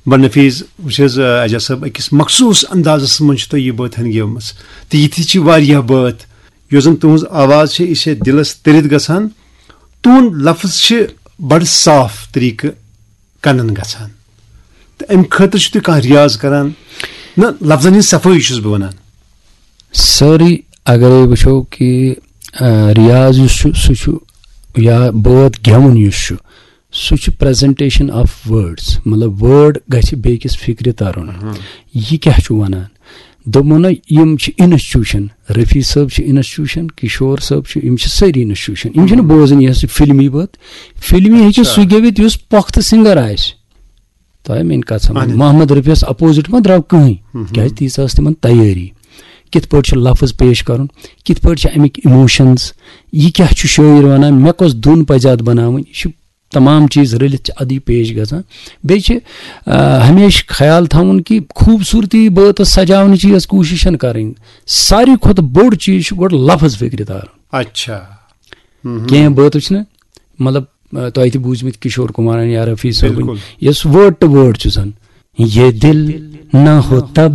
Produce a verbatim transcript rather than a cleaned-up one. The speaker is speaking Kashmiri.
بڑٕ نفیٖذ، وٕچھ حظ، آ، اعجاز صٲب، أکِس مخصوٗص اندازس منٛز چھِ تۄہہِ یہِ بٲتھ ہن گیومٕژ۔ تہٕ یِتھی چھِ واریاہ بٲتھ، یۄس زن تُہنٛز آواز چھِ، یہِ چھِ دِلس تٔرِتھ گژھان۔ تُہنٛد لفظ چھِ بڑٕ صاف طریٖقہٕ کنن گژھان۔ تہٕ امہِ خٲطرٕ چھِو تُہۍ کانٛہہ ریاض کران؟ نہ، لفظن ہٕنٛز صفٲیی چھُس بہٕ ونان۔ سٲرٕے اگرے وٕچھو کہِ، آ، ریاض یُس چھُ، سُہ چھُ، یا بٲتھ گٮ۪وُن یُس چھُ، سُہ چھُ presentation of words، مطلب word گژھِ بیٚکِس فکرِ ترُن۔ یہِ کیٛاہ چھُ ونان؟ دوٚپمو نہ، یِم چھِ institution، رفیع صٲب چھِ institution، کشور صٲب چھِ، یِم چھِ سٲری institution، یِم چھِنہٕ بوزان یۄس یہِ فلمی بٲتھ۔ فلمی ہیٚکہِ اچھا۔ سُہ گٮ۪وِتھ یُس پۄختہٕ سنگر آسہِ۔ تۄہہِ میٛٲنۍ کتھ سمجھ؟ اہن۔ محمد رفیعس opposite ما درٛاو کٕہٕنۍ، مہم۔ کیٛازِ تیٖژاہ ٲس تِمن تیٲری۔ کِتھ پٲٹھۍ چھُ لفظ پیش کرُن، کِتھ پٲٹھۍ چھِ امیِکۍ emotions، یہِ کیٛاہ چھُ شٲعر ونان، مےٚ کۄس دُن پزِ اتھ بناوٕنۍ، یہِ چھُ تمام چیٖز رٔلِتھ چھِ ادٕے پیش گژھان۔ بیٚیہِ چھِ، آ، ہمیشہِ خیال تھاوُن کہِ خوٗبصوٗرتی بٲتس سجاونٕچ یۄس کوٗشش چھَنہٕ کرٕنۍ، ساروی کھۄتہٕ بوٚڑ چیٖز چھُ گۄڈٕ لفظ فکرِ تارُن۔ اچھا۔ مہم۔ کینٛہہ بٲتھ چھِنہ، مطلب، آ، تۄہہِ تہِ بوٗزمٕتۍ کشور کمارن یا رفیع صٲبٕنۍ، بِلکُل۔ یۄس word to word چھُ زن، یہ دل نہ ہو تب